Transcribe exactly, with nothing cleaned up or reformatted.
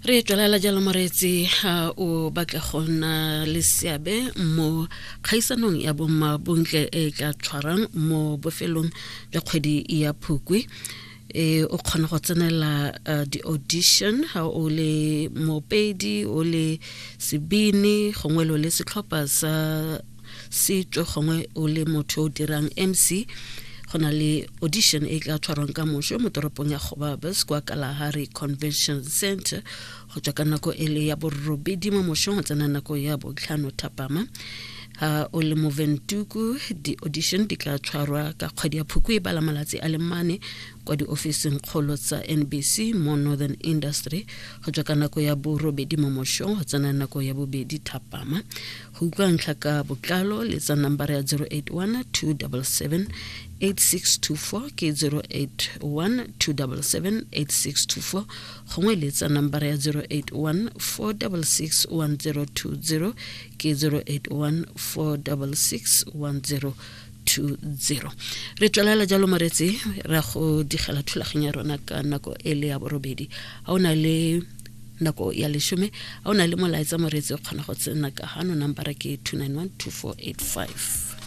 Re tswelela jalo, moreetsi. Ga o batla go nna le seabe mo kgaisanong ya bomma bontle e tla tshwarang mo bofelong jwa kgwedi ya Phukwi, e o kgona go tsenela uh, di-audition ga o le mopedi, o le sebini, gongwe lo le setlhopha sa setso, gongwe o le motho o dirang M C. Go na le audition e tla tshwarwang ka moso mo toropong ya Gobabis kwa Kalahari Convention Center, go tswa ka nako e le ya borobedi mo mosong go tsena nako ya botlhano thapama. Ha o le mo Windhoek, di-audition di tla tshwarwa ka kgwedi ya Phukwi e bala malatsi a le mane kwa diofising kgolo tsa N B C mo Northern Industry, go tswa ka nako ya borobedi mo mosong go tsena nako ya bobedi thapama. Go utlwa ntlha ka botlalo, letsa nambara ya zero eight one two seven seven eight six two four, ke zero eight one two seven seven eight six two four, gongwe letsa nambara ya zero eight one four six six one zero two zero, ke zero eight one four six six one zero two zero. Re tswelela jalo, moretsi, ra go digela thulaganyo ya rona ka nako e le ya borobedi ga o na le nako ya leshome. Ga o na le molaetsa, moretsi, o kgona go tsena ka gano, nambara ke two nine one two four eight five.